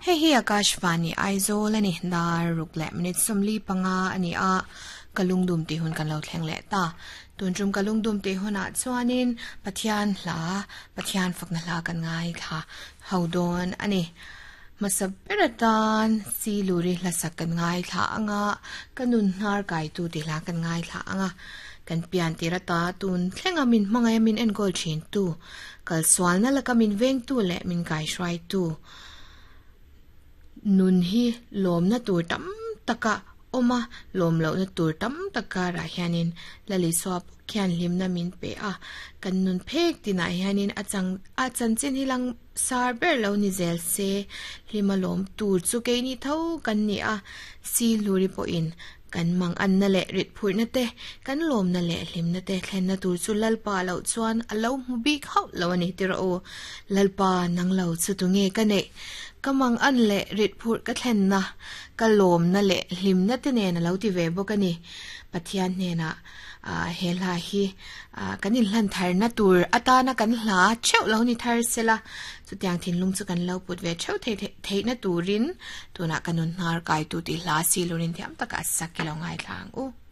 Hei hi Akashvani Aizawl a ni, dar ruk leh minute 45 a ni a, ka lungdum tih hun kan lo thleng leh ta. Tun tum ka lungdum tih hunah chuanin Pathian hla, Pathian fakna hla kan ngaithla ho dawn a ni. Hmasa ber atan Siluri hlasak kan ngaithla ang a, ka nun hnar kaitu tih hla kan ngaithla ang a, kan pian tir ata tun thlenga min hmangaih a min enkawl thintu, kalsualna laka min vengtu leh min kaihruaitu nun hi lawmna tur tam taka awm a, lawm lohna tur tam tak karah hianin Lalisua pawh khian hlimna min pe a, kan nun phek tinah hianin a chang a chanchin hi lang sar ber lo ni zel se, hlima lawm tur chu keini tho kan ni a, si hluri pawhin kan mang anna leh rit phurhna te, kan lawmna leh hlimna te thlenna tur chu Lalpa loh chuan a lo hmu bik hauh lo a ni ti rawh u. Lalpa nang lo chu tunge ka neih? Ka mang an leh rit phurh ka thlenna, ka lawmna leh hlimna te nen a lo ti ve bawk a ni. Pathian hnenah he hla hi kan inhlan tharna tur atana kan hla theuh lo ni thar sela, chutiang thinlung chu kan lo put ve theuh theihna turin tunah ka nun hnar kaitu tih hla silurin thiam taka a sak i lo ngaithla ang u.